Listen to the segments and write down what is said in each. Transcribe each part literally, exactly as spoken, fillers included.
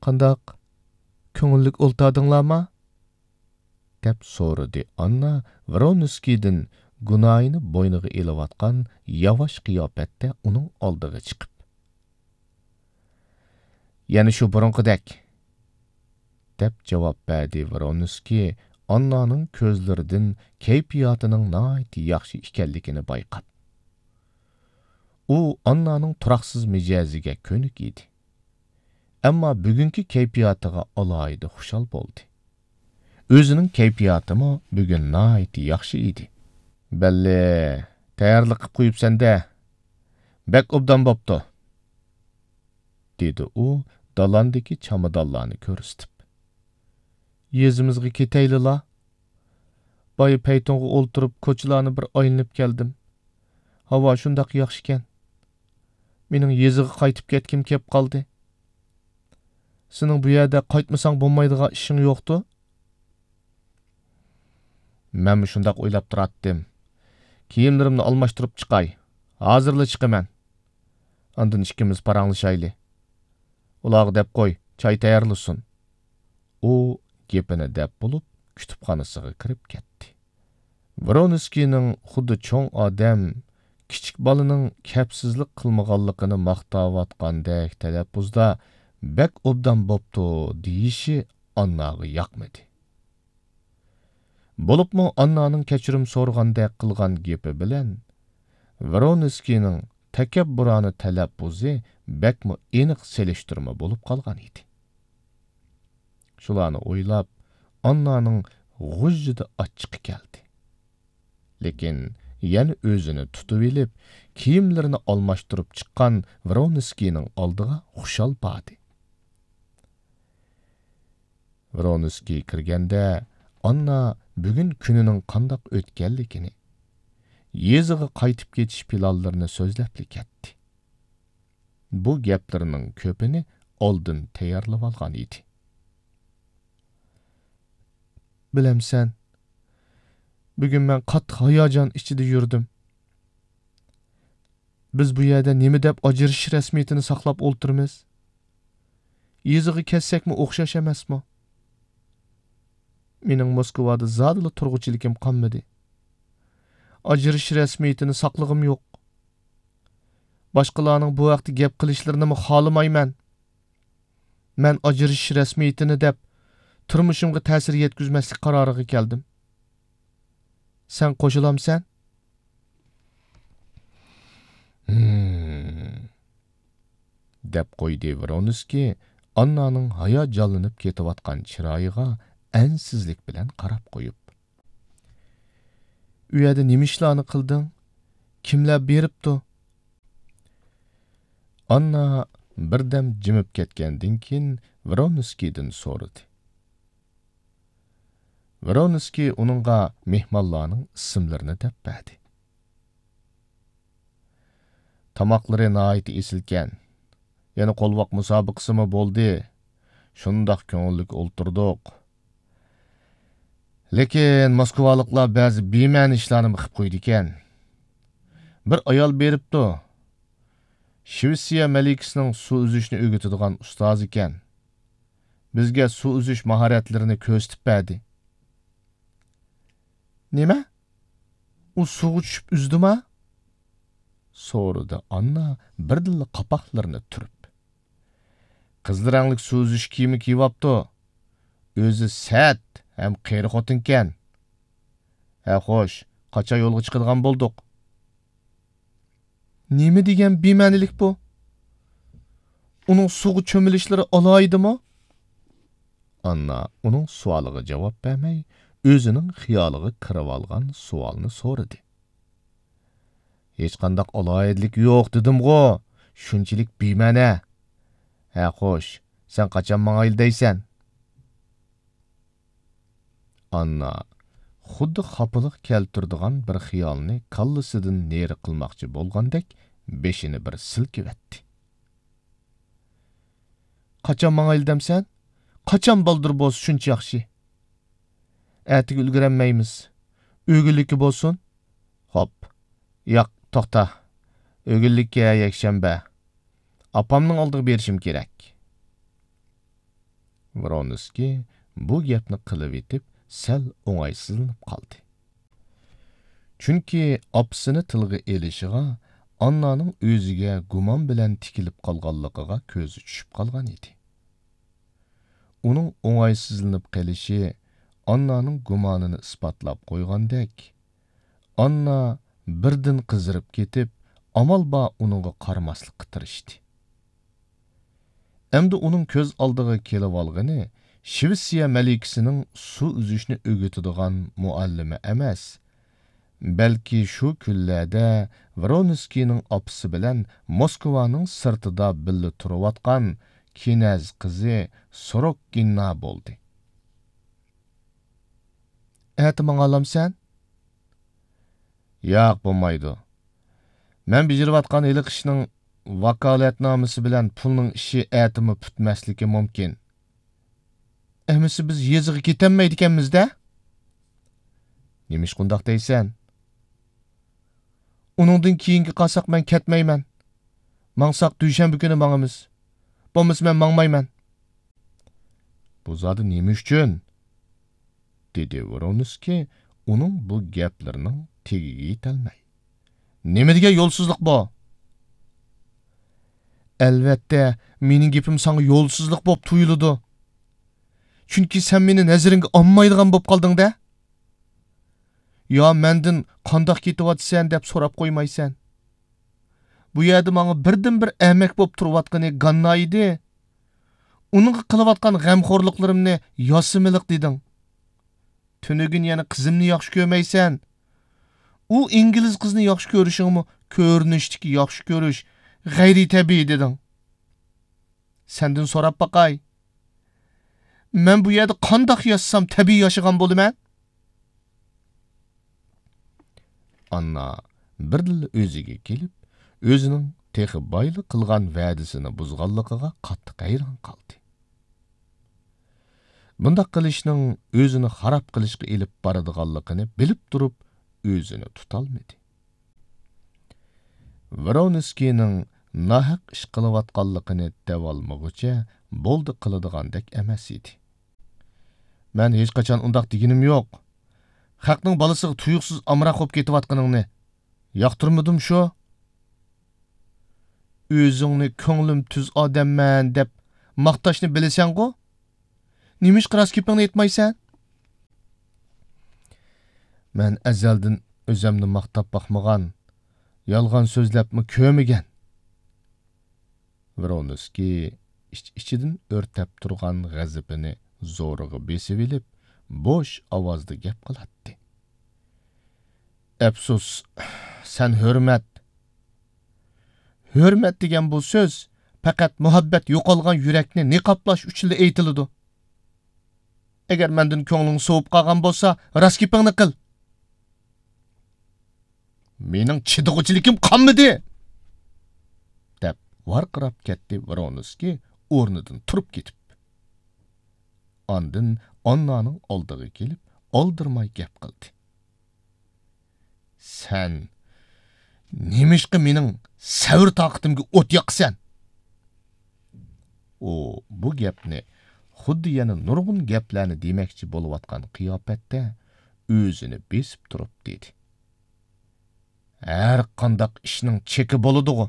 «قانداق؟ كۆڭۈللۈك ئولتۇردۇڭلارمۇ؟» دەپ سورىدى ئاننا ۋرونسكىيدىن گۇنايىنى بوينىغا ئېلىۋاتقان ياۋاش قىياپەتتە ئۇنىڭ ئالدىغا چىقىپ. «يەنە شۇ بۇرۇنقىدەك» دەپ جاۋاب بەردى ۋرونسكىي ئاننانىڭ كۆزلىرىدىن كەيپىياتىنىڭ ناھايىتى ياخشى ئىكەنلىكىنى بايقاپ. ئۇ ئاننانىڭ تۇراقسىز مىجەزىگە كۆنۈك ئىدى. ئەمما بۈگۈنكى كەيپىياتىغا ئالاھىدە خۇشال بولدى. ئۆزىنىڭ كەيپىياتىمۇ بۈگۈن ناھايىتى ياخشى ئىدى. «بەللى، تەييارلىق قىپ قويۇپسەن-دە. بەك ئوبدان بوپتۇ»، دېدى ئۇ دالاندىكى چامادانلارنى كۆرسىتىپ. «يېزىمىزغا كېتەيلىلا. بايا پەيتۇنغا ئولتۇرۇپ، كوچىلارنى بىر ئايلىنىپ كەلدىم. ھاۋا شۇنداق ياخشىكەن. مېنىڭ يېزىغا قايتىپ كەتكۈم كەپ قالدى. سېنىڭ بۇ يەردە قايتمىساڭ بولمايدىغان ئىشىڭ يوقتۇ؟» «مەنمۇ شۇنداق ئويلاپ تۇراتتىم. كىيىملىرىمنى ئالماشتۇرۇپ چىقاي. ھازىرلا چىقىمەن. ئاندىن ئىككىمىز پاراڭلىشايلى. ئۇلارغا دەپ قوي، چاي تەييارلىسۇن.» ئۇ گېپىنى دەپ بولۇپ، كۇتۇپخانىسىغا كىرىپ كەتتى. ۋرونسكىينىڭ خۇددى چوڭ ئادەم، كىچىك بالىنىڭ كەپسىزلىك قىلمىغانلىقىنى ماختاۋاتقاندەك تەلەپپۇزدا «بەك ئوبدان بوپتۇ» دېيىشى ئانناغا ياقمىدى. بولۇپمۇ ئاننانىڭ كەچۈرۈم سورىغاندەك قىلغان گېپى بىلەن ۋرونسكىينىڭ تەكەببۇرانە تەلەپپۇزى بەكمۇ ئېنىق سېلىشتۇرما بولۇپ قالغان ئىدى. شۇلارنى ئويلاپ، ئاننانىڭ غۇژژىدە ئاچچىقى كەلدى. لېكىن يەنە ئۆزىنى تۇتۇۋېلىپ، كىيىملىرىنى ئالماشتۇرۇپ چىققان ۋرونسكىينىڭ ئالدىغا خۇشال باردى. ۋرونسكىي كىرگەندە، ئاننا بۈگۈن كۈنىنىڭ قانداق ئۆتكەنلىكىنى، يېزىغا قايتىپ كېتىش پىلانلىرىنى سۆزلەپلا كەتتى. بۇ گەپلىرىنىڭ كۆپىنى ئالدىن تەييارلىۋالغان ئىدى. بىلەمسەن، بۈگۈن مەن قاتتىق ھاياجان ئىچىدە يۈردۈم. بىز بۇ يەردە نېمە دەپ ئاجرىشىش رەسمىيىتىنى ساقلاپ ئولتۇرىمىز؟ يېزىغا كەتسەكمۇ ئوخشاش ئەمەسمۇ؟ مېنىڭ موسكۋادا زادىلا تۇرغۇچىلىكىم قالمىدى. ئاجرىشىش رەسمىيىتىنى ساقلىغۇم يوق. باشقىلارنىڭ بۇ ھەقتە گەپ قىلىشلىرىنىمۇ خالىمايمەن. مەن ئاجرىشىش رەسمىيىتىنى دەپ، تۇرمۇشۇمغا تەسىر يەتكۈزمەسلىك قارارىغا كەلدىم. سەن قوشۇلامسەن؟ ھىم، دەپ قويدى ۋرونسكىي ئاننانىڭ ھاياجانلىنىپ كېتىۋاتقان چىرايىغا ئەنسىزلىك بىلەن قاراپ قويۇپ. ئۇ يەردە نېمە ئىشلارنى قىلدىڭ؟ كىملەر بېرىپتۇ؟ ئاننا بىردەم جىمىپ كەتكەندىن كېيىن ۋرونسكىيدىن سورىدى. ۋرونسكىي ئۇنىڭغا مېھمانلارنىڭ ئىسىملىرىنى دەپ بەردى. تاماقلىرى ناھايىتى ئېسىلكەن. يەنە قولۋاق مۇسابىقىسىمۇ بولدى. شۇنداق كۆڭۈللۈك ئولتۇردۇق. لېكىن موسكۋالىقلار بەزى بىمەنە ئىشلارنىمۇ قىپ قويىدىكەن. بىر ئايال بېرىپتۇ. شىۋېتسىيە مەلىكىسىنىڭ سۇ ئۈزۈشنى ئۆگىتىدىغان ئۇستازىكەن. بىزگە سۇ ئۈزۈش ماھارەتلىرىنى كۆرسىتىپ بەردى. نېمە؟ ئۇ سۇغا چۈشۈپ ئۈزدىما؟ سورىدى ئاننا بىردىنلا قاپاقلىرىنى تۈرۈپ. قىزىل رەڭلىك سۇ ئۈزۈش كىيىمى كىيىۋاپتۇ. ئۆزى سەت ھەم قېرى خوتۇنكەن. ھە خوش، قاچان يولغا چىقىدىغان بولدۇق؟ نېمە دېگەن بىمەنىلىك بۇ؟ ئۇنىڭ سۇغا چۆمۈلۈشلىرى ئالاھىدىمۇ؟ ئاننا ئۇنىڭ سوئالىغا جاۋاب بەرمەي، ئۆزىنىڭ خىيالىغا كىرىۋالغان سوئالنى سورىدى. ھېچقانداق ئالاھىدىلىكى يوق دېدىمغۇ، شۇنچىلىك بىمەنە. ھە خوش، سەن قاچان ماڭايلى دەيسەن؟ ئاننا خۇددى خاپىلىق كەلتۈرىدىغان بىر خىيالنى كاللىسىدىن نېرى قىلماقچى بولغاندەك بېشىنى بىر سىلكىۋەتتى. قاچان ماڭايلى دەمسەن؟ قاچان بالدۇر بولسا شۇنچە ياخشى. ئەتىگە ئۈلگۈرەلمەيمىز. ئۆگۈنلۈككە بولسۇن. خوپ. ياق، توختا. ئۆگۈنلۈككە يەكشەنبە. ئاپامنىڭ ئالدىغا بېرىشىم كېرەك. ۋرونسكىي بۇ گەپنى قىلىۋېتىپ، سەل ئوڭايسىزلىنىپ قالدى. چۈنكى ئاپىسىنى تىلغا ئېلىشىغا ئاننانىڭ ئۆزىگە گۇمان بىلەن تىكىلىپ قالغانلىقىغا كۆزى چۈشۈپ قالغان ئىدى. ئۇنىڭ ئوڭايسىزلىنىپ قېلىشى ئاننانىڭ گۇمانىنى ئىسپاتلاپ قويغاندەك، ئاننا بىردىن قىزىرىپ كېتىپ، ئامال بار ئۇنىڭغا قارىماسلىققا تىرىشتى. ئەمدى ئۇنىڭ كۆز ئالدىغا كېلىۋالغىنى شىۋېتسىيە مەلىكىسىنىڭ سۇ ئۈزۈشنى ئۆگىتىدىغان مۇئەللىمى ئەمەس، بەلكى شۇ كۈنلەردە ۋرونسكىينىڭ ئاپىسى بىلەن موسكۋانىڭ سىرتىدا بىللە تۇرۇۋاتقان كىنەز قىزى سوروككىنا بولدى. ئەتە ماڭالامسەن؟ ياق، بولمايدۇ. مەن بېجىرىۋاتقان ھېلىقى ئىشنىڭ ۋاكالەتنامىسى بىلەن پۇلنىڭ ئىشى ئەتىمۇ پۈتمەسلىكى مۇمكىن. ئەمىسە بىز يېزىغا كېتەلمەيدىكەنمىز-دە؟ نېمىشقا ئۇنداق دەيسەن؟ ئۇنىڭدىن كېيىنگە قالساق مەن كەتمەيمەن. ماڭساق دۈشەنبە كۈنى ماڭىمىز. بولمىسا مەن ماڭمايمەن. بۇ زادى نېمە ئۈچۈن؟ دېدى ۋرونسكىي ئۇنىڭ بۇ گەپلىرىنىڭ تېگىگە يېتەلمەي. نېمە دېگەن يولسىزلىق بۇ؟ ئەلۋەتتە، مېنىڭ گېپىم ساڭا يولسىزلىق بولۇپ تۇيۇلىدۇ. چۈنكى سەن مېنى نەزىرىڭگە ئالمايدىغان بولۇپ قالدىڭ-دە. يا مەندىن قانداق كېتىۋاتىسەن دەپ سوراپ قويمايسەن. بۇ يەردە ماڭا بىردىنبىر ئەمەك بولۇپ تۇرۇۋاتقىنى گاننا ئىدى. ئۇنىڭغا قىلىۋاتقان غەمخورلۇقلىرىمنى ياسىمىلىق دېدىڭ. تۈنۈگۈن يەنە قىزىمنى ياخشى كۆرمەيسەن. ئۇ ئىنگلىز قىزنى ياخشى كۆرۈشۈڭمۇ كۆرۈنۈشتىكى ياخشى كۆرۈش، غەيرىي تەبىئىي دېدىڭ. سەندىن سوراپ باقاي. مەن بۇ يەردە قانداق ياشىسام تەبىئىي ياشىغان بولىمەن؟ ئاننا بىردىنلا ئۆزىگە كېلىپ، ئۆزىنىڭ تېخى بايلا قىلغان ۋەدىسىنى بۇزغانلىقىغا قاتتىق ھەيران قالدى. بۇنداق قىلىشنىڭ ئۆزىنى خاراب قىلىشقا ئېلىپ بارىدىغانلىقىنى بىلىپ تۇرۇپ، ئۆزىنى تۇتالمىدى. ۋرونسكىينىڭ ناھەق ئىش قىلىۋاتقانلىقىنى دەۋالمىغۇچە بولدى قىلىدىغاندەك ئەمەس ئىدى. مەن ھېچقاچان ئۇنداق دېگىنىم يوق. خەقنىڭ بالىسىغا تۇيۇقسىز ئامراق بولۇپ كېتىۋاتقىنىڭنى ياقتۇرمىدىم شۇ. ئۆزۈڭنى كۆڭلۈم تۈز ئادەممەن دەپ ماختاشنى بىلىسەنغۇ؟ نېمىشقا راست گېپىڭنى ئېيتمايسەن؟ مەن ئەزەلدىن ئۆزەمنى ماختاپ باقمىغان، يالغان سۆزلەپمۇ كۆرمىگەن. ۋرونسكىي ئىچ-ئىچىدىن ئۆرتەپ تۇرغان غەزىپىنى زورىغا بېسىۋېلىپ، بوش ئاۋازدا گەپ قىلاتتى. ئەپسۇس، سەن ھۆرمەت. ھۆرمەت دېگەن بۇ سۆز پەقەت مۇھەببەت يوقالغان يۈرەكنى نىقابلاش ئۈچۈنلا ئېيتىلىدۇ. ئەگەر مەندىن كۆڭلۈڭ سوۋۇپ قالغان بولسا، راست گېپىڭنى قىل. مېنىڭ چىدىغۇچىلىكىم قالمىدى! دەپ ۋارقىراپ كەتتى ۋرونسكىي ئورنىدىن تۇرۇپ كېتىپ. ئاندىن ئاننانىڭ ئالدىغا كېلىپ، ئالدىرىماي گەپ قىلدى. سەن نېمىشقا مېنىڭ سەۋر-تاقىتىمگە ئوت ياقىسەن؟ ئۇ بۇ گەپنى خۇددى يەنە نۇرغۇن گەپلەرنى دېمەكچى بولۇۋاتقان قىياپەتتە ئۆزىنى بېسىپ تۇرۇپ دېدى. ھەر قانداق ئىشنىڭ چېكى بولىدىغۇ.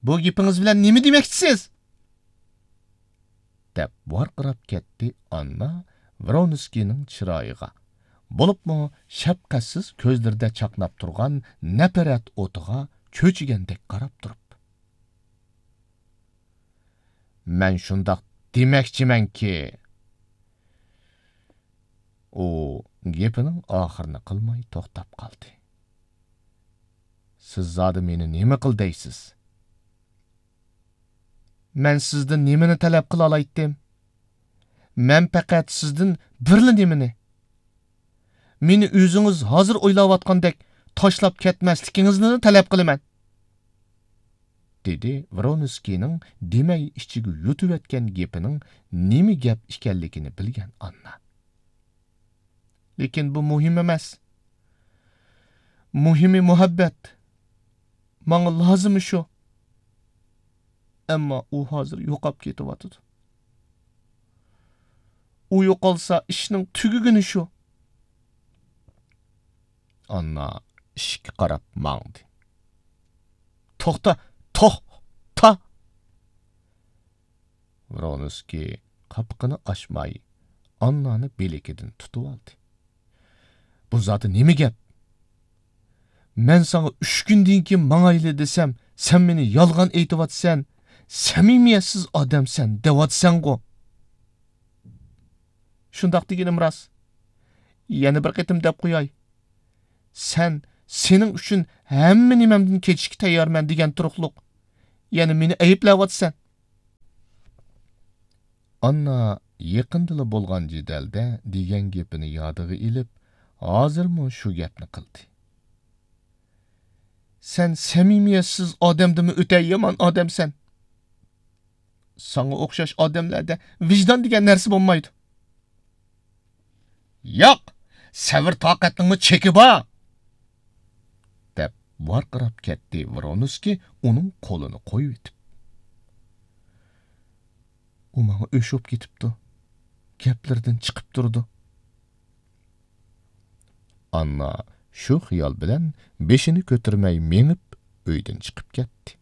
بۇ گېپىڭىز بىلەن نېمە دېمەكچىسىز؟ دەپ ۋارقىراپ كەتتى ئاننا ۋرونسكىينىڭ چىرايىغا، بولۇپمۇ شەپقەتسىز كۆزلىرىدە چاقناپ تۇرغان نەپرەت ئوتىغا چۆچۈگەندەك قاراپ تۇرۇپ. مەن شۇنداق دېمەكچىمەنكى. ئۇ گېپىنىڭ ئاخىرىنى قىلماي توختاپ قالدى. سىز زادى مېنى نېمە قىل دەيسىز؟ مەن سىزدىن نېمىنى تەلەپ قىلالايتتىم؟ مەن پەقەت سىزدىن بىرلا نېمىنى، مېنى ئۆزىڭىز ھازىر ئويلاۋاتقاندەك تاشلاپ كەتمەسلىكىڭىزنىلا تەلەپ قىلىمەن. دېدى ۋرونسكىينىڭ دېمەي ئىچىگە يۇتۇۋەتكەن گېپىنىڭ نېمە گەپ ئىكەنلىكىنى بىلگەن ئاننا. لېكىن بۇ مۇھىم ئەمەس. مۇھىمى مۇھەببەت. ماڭا لازىمى شۇ. ئەمما ئۇ ھازىر يوقاپ كېتىۋاتىدۇ. ئۇ يوقالسا، ئىشنىڭ تۈگىگىنى شۇ. ئاننا ئىشىككە قاراپ ماڭدى. «توختا! توختا!» ۋرونسكىي قاپىقىنى ئاچماي، ئاننانى بىلىكىدىن تۇتۇۋالدى. «بۇ زادى نېمە گەپ؟ مەن ساڭا ئۈچ كۈندىن كېيىن ماڭايلى دېسەم، سەن مېنى يالغان ئېيتىۋاتىسەن، سەمىمىيەتسىز ئادەمسەن دەۋاتىسەنغۇ.» «شۇنداق دېگىنىم راست. يەنە بىر قېتىم دەپ قوياي. سەن سېنىڭ ئۈچۈن ھەممە نېمەمدىن كېچىشكە تەييارمەن دېگەن تۇرۇقلۇق. يەنە مېنى ئەيىبلەۋاتىسەن.» ئاننا يېقىندىلا بولغان جېدەلدە دېگەن گېپىنى يادىغا ئېلىپ، ھازىرمۇ شۇ گەپنى قىلدى. «سەن سەمىمىيەتسىز ئادەمدىنمۇ ئۆتە يامان ئادەمسەن. ساڭا ئوخشاش ئادەملەردە ۋىجدان دېگەن نەرسە بولمايدۇ.» «ياق، سەۋر-تاقەتنىڭمۇ چېكى بار!» دەپ ۋارقىراپ كەتتى ۋرونسكىي ئۇنىڭ قولىنى قويۇۋېتىپ. «ئۇ ماڭا ئۆچ بولۇپ كېتىپتۇ. گەپلىرىدىن چىقىپ تۇرىدۇ.» ئاننا شۇ خىيال بىلەن بېشىنى كۆتۈرمەي مېڭىپ، ئۆيدىن چىقىپ كەتتى.